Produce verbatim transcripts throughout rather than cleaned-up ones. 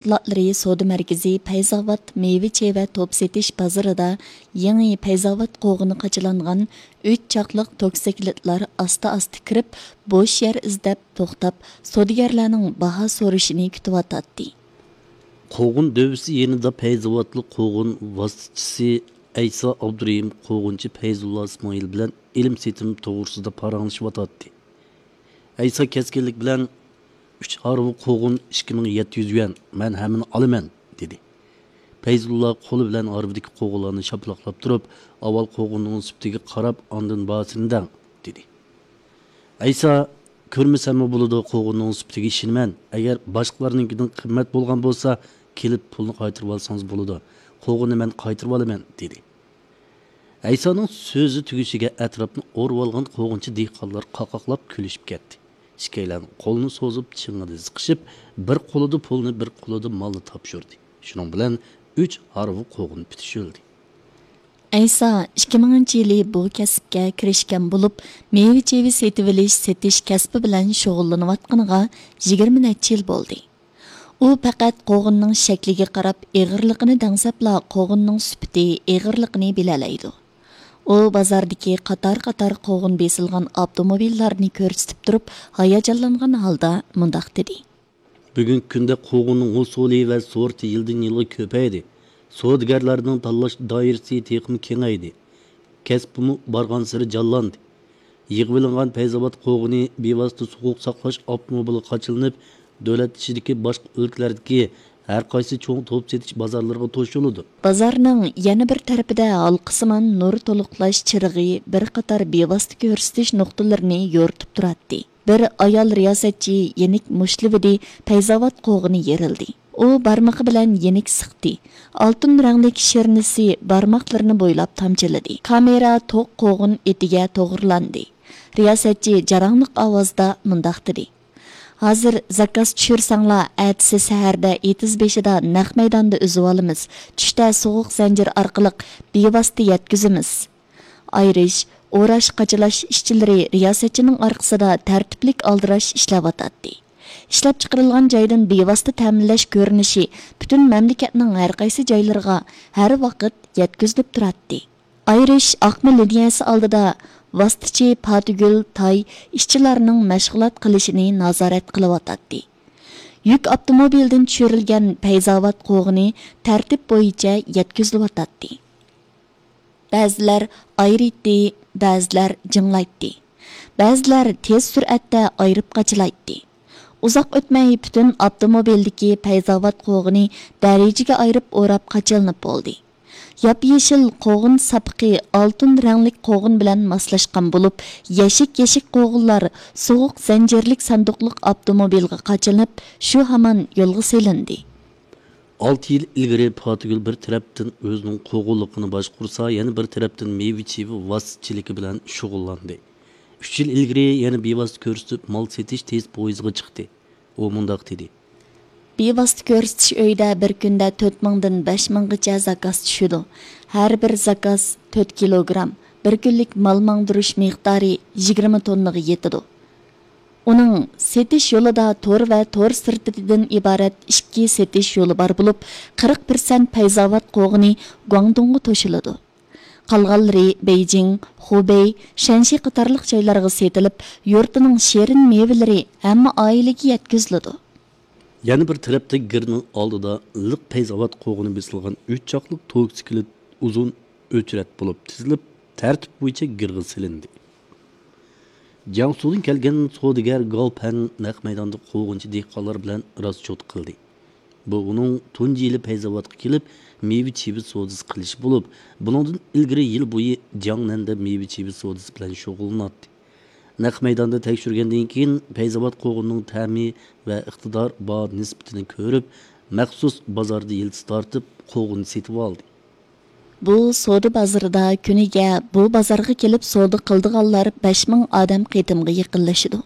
مەھسۇلاتلىرى سودا مەركىزى پەيزاۋات مېۋە-چېۋە توپ سېتىش بازىرىدا يېڭى پەيزاۋات قوغۇنى قاچىلانغان ئۈچ چاقلىق توكسىكلىتلار ئاستا-ئاستا كىرىپ، بوش يەر ئىزدەپ توختاپ، سودىگەرلەرنىڭ باھا سورىشىنى كۈتۈۋاتاتتى. قوغۇن دۆۋىسى يېنىدا پەيزاۋاتلىق قوغۇن ۋاسىتىچىسى ئەيسا ئابدۇرېھىم قوغۇنچى پەيزۇللا ئىسمائىل بىلەن ئېلىم-سېتىم توغرىسىدا پاراڭلىشىۋاتاتتى. ئەيسا كەسكىنلىك بىلەن، «ئۈچ ھارۋا قوغۇن ئىككى مىڭ يەتتە يۈز يۈەن، مەن ھەممىنى ئالىمەن» دېدى. پەيزۇللا قولى بىلەن ھارۋىدىكى قوغۇنلارنى شاپىلاقلاپ تۇرۇپ، «ئاۋۋال قوغۇننىڭ سۈپىتىگە قاراپ، ئاندىن باھاسىنى دەڭ» دېدى. ئەيسا، «كۆرمىسەممۇ بولىدۇ، قوغۇننىڭ سۈپىتىگە ئىشىنىمەن. ئەگەر باشقىلارنىڭكىدىن قىممەت بولغان بولسا، كېلىپ پۇلنى قايتۇرۇۋالسىڭىز بولىدۇ. قوغۇننى مەن قايتۇرۇۋالىمەن» دېدى. ئەيسانىڭ سۆزى تۈگىشىگە ئەتراپنى ئورىۋالغان قوغۇنچى دېھقانلار قاقاقلاپ كۈلۈشۈپ كەتتى. ئىككىيلەن قولىنى سوزۇپ، چىڭىدە زىقىشىپ، بىر قولىدا پۇلنى، بىر قولىدا مالنى تاپشۇردى. شۇنىڭ بىلەن ئۈچ ھارۋا قوغۇن پۈتۈشۈلدى. ئەيسا ئىككى مىڭىنچى يىلى بۇ كەسىپكە كىرىشكەن بولۇپ، مېۋە-چېۋە سېتىۋېلىش، سېتىش كەسپى بىلەن شۇغۇللىنىۋاتقىنىغا يىگىرمە نەچچە يىل بولدى. ئۇ پەقەت قوغۇننىڭ شەكلىگە قاراپ ئېغىرلىقىنى دەڭسەپلا، قوغۇننىڭ سۈپىتى، ئېغىرلىقىنى بىلەلەيدۇ. ئۇ بازاردىكى قاتار-قاتار قوغۇن بېسىلغان ئاپتوموبىللارنى كۆرسىتىپ تۇرۇپ، ھاياجانلانغان ھالدا مۇنداق دېدى. بۈگۈنكى كۈندە قوغۇننىڭ ھوسۇلى ۋە سورتى يىلدىن يىلغا كۆپەيدى. سودىگەرلەرنىڭ تاللاش دائىرىسى تېخىمۇ كېڭەيدى. كەسپىمۇ بارغانسېرى جانلاندى. يىغىۋېلىنغان پەيزاۋات قوغۇنى بىۋاسىتە سوغۇق ساقلاش ئاپتوموبىلىغا قاچىلىنىپ، دۆلەت ئىچىدىكى باشقا ئۆلكىلەردىكى ھەر قايسى چوڭ توپ سېتىش بازارلىرىغا توشۇلىدۇ. بازارنىڭ يەنە بىر تەرىپىدە ھالقىسىمان نۇر تولۇقلاش چىرىغى بىر قاتار بىۋاسىتە كۆرسىتىش نۇقتىلىرىنى يورۇتۇپ تۇراتتى. بىر ئايال رىياسەتچى يېنىك مۇشتلىۋىدى، پەيزاۋات قوغۇنى يېرىلدى. ئۇ بارمىقى بىلەن يېنىك سىقتى. ئالتۇن رەڭلىك شىرنىسى بارماقلىرىنى بويلاپ تامچىلىدى. كامېرا توق قوغۇن ئېتىگە توغرىلاندى. رىياسەتچى جاراڭلىق ئاۋازدا مۇنداق دېدى: «ھازىر زاكاز چۈشۈرسەڭلار، ئەتىسى سەھەردە ئېتىز بېشىدا نەق مەيداندا ئۈزۈۋالىمىز. چۈشتە سوغۇق زەنجىر ئارقىلىق بىۋاسىتە يەتكۈزىمىز.» ئايرىش، ئوراش، قاچىلاش ئىشچىلىرى رىياسەتچىنىڭ ئارقىسىدا تەرتىپلىك ئالدىراش ئىشلەۋاتاتتى. ئىشلەپچىقىرىلغان جايدىن بىۋاسىتە تەمىنلەش كۆرۈنۈشى پۈتۈن مەملىكەتنىڭ ھەر قايسى جايلىرىغا ھەر ۋاقىت يەتكۈزۈلۈپ تۇراتتى. ئايرىش ئاقما لىنىيەسى ئالدىدا ۋاسىتىچى پاتىگۈل تاي ئىشچىلارنىڭ مەشغۇلات قىلىشىنى نازارەت قىلىۋاتاتتى. يۈك ئاپتوموبىلىدىن چۈشۈرۈلگەن پەيزاۋات قوغۇنى تەرتىپ بويىچە يەتكۈزۈلۈۋاتاتتى. بەزىلەر ئايرىيتتى، بەزىلەر جىڭلايتتى. بەزىلەر تېز سۈرئەتتە ئايرىپ قاچىلايتتى. ئۇزاق ئۆتمەي پۈتۈن ئاپتوموبىلدىكى پەيزاۋات قوغۇنى دەرىجىگە ئايرىپ ئوراپ قاچىلىنىپ بولدى. ياپيېشىل قوغۇن ساپىقى ئالتۇن رەڭلىك قوغۇن بىلەن ماسلاشقان بولۇپ، يەشىك-يەشىك قوغۇنلار سوغۇق زەنجىرلىك ساندۇقلۇق ئاپتوموبىلغا قاچىلىنىپ، شۇ ھامان يولغا سېلىندى. ئالتە يىل ئىلگىرى پاتىگۈل بىر تەرەپتىن ئۆزىنىڭ قوغۇنلۇقىنى باشقۇرسا، يەنە بىر تەرەپتىن مېۋە-چېۋە ۋاسىتىچىلىكى بىلەن شۇغۇللاندى. ئۈچ يىل ئىلگىرى يەنە بىۋاسىتە كۆرسىتىپ مال سېتىش تېز پويىزىغا چىقتى. ئۇ مۇنداق دېدى. بىۋاسىتە كۆرسىتىش ئۆيىدە بىر كۈندە تۆت مىڭدىن بەش مىڭغىچە زاكاز چۈشىدۇ. ھەر بىر زاكاز تۆت كىلوگرام، بىر كۈنلۈك مال ماڭدۇرۇش مىقدارى يىگىرمە توننىغا يېتىدۇ. ئۇنىڭ سېتىش يولىدا تور ۋە تور سىرتىدىن ئىبارەت ئىككى سېتىش يولى بار بولۇپ، قىرىق پىرسەنت پەيزاۋات قوغۇنى گۇاڭدۇڭغا توشۇلىدۇ. قالغانلىرى بېيجىڭ، خۇبېي، شەنشى قاتارلىق جايلارغا سېتىلىپ، يۇرتىنىڭ شېرىن مېۋىلىرى ھەممە ئائىلىگە يەتكۈزۈلىدۇ. يەنە بىر تەرەپتە گىرنىڭ ئالدىدا لىق پەيزاۋات قوغۇنى بېسىلغان ئۈچ چاقلىق توكسىكلىت ئۇزۇن ئۆچرەت بولۇپ تىزىلىپ، تەرتىپ بويىچە گىرغا سېلىندى. جياڭسۇدىن كەلگەن سودىگەر گاۋ پەڭ نەق مەيداندا قوغۇنچى دېھقانلار بىلەن راسچوت قىلدى. بۇ ئۇنىڭ تۇنجى يىلى پەيزاۋاتقا كېلىپ، مېۋە-چېۋە سودىسى قىلىشى بولۇپ، بۇنىڭدىن ئىلگىرى يىل بويى جياڭنەندە مېۋە-چېۋە سودىسى بىلەن شۇغۇللىناتتى. نەق مەيداندا تەكشۈرگەندىن كېيىن، پەيزاۋات قوغۇنىنىڭ تەمى ۋە ئىقتىدار باھا نىسبىتىنى كۆرۈپ، مەخسۇس بازاردا يىلتىز تارتىپ، قوغۇن سېتىۋالدى. بۇ سودا بازىرىدا كۈنىگە بۇ بازارغا كېلىپ سودا قىلىدىغانلار بەش مىڭ ئادەم قېتىمغا يېقىنلىشىدۇ.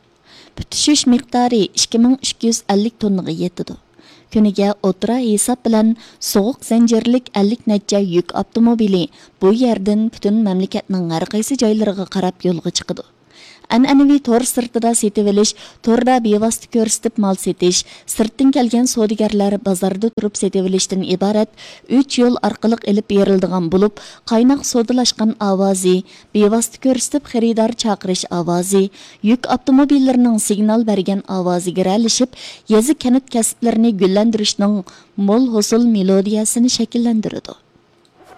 پۈتۈشۈش مىقدارى ئىككى مىڭ ئىككى يۈز ئەللىك توننىغا يېتىدۇ. كۈنىگە ئوتتۇرا ھېساب بىلەن سوغۇق زەنجىرلىك ئەللىك نەچچە يۈك ئاپتوموبىلى بۇ يەردىن پۈتۈن مەملىكەتنىڭ ھەر قايسى جايلىرىغا قاراپ يولغا چىقىدۇ. ئەنئەنىۋى تور سىرتىدا سېتىۋېلىش، توردا بىۋاسىتە كۆرسىتىپ مال سېتىش، سىرتتىن كەلگەن سودىگەرلەر بازاردا تۇرۇپ سېتىۋېلىشتىن ئىبارەت ئۈچ يول ئارقىلىق ئېلىپ بېرىلىدىغان بولۇپ، قايناق سودىلاشقان ئاۋازى، بىۋاسىتە كۆرسىتىپ خېرىدار چاقىرىش ئاۋازى، يۈك ئاپتوموبىللىرىنىڭ سىگنال بەرگەن ئاۋازى گىرەلىشىپ، يېزا، كەنت كەسىپلىرىنى گۈللەندۈرۈشنىڭ مول ھوسۇل مېلودىيەسىنى شەكىللەندۈرىدۇ.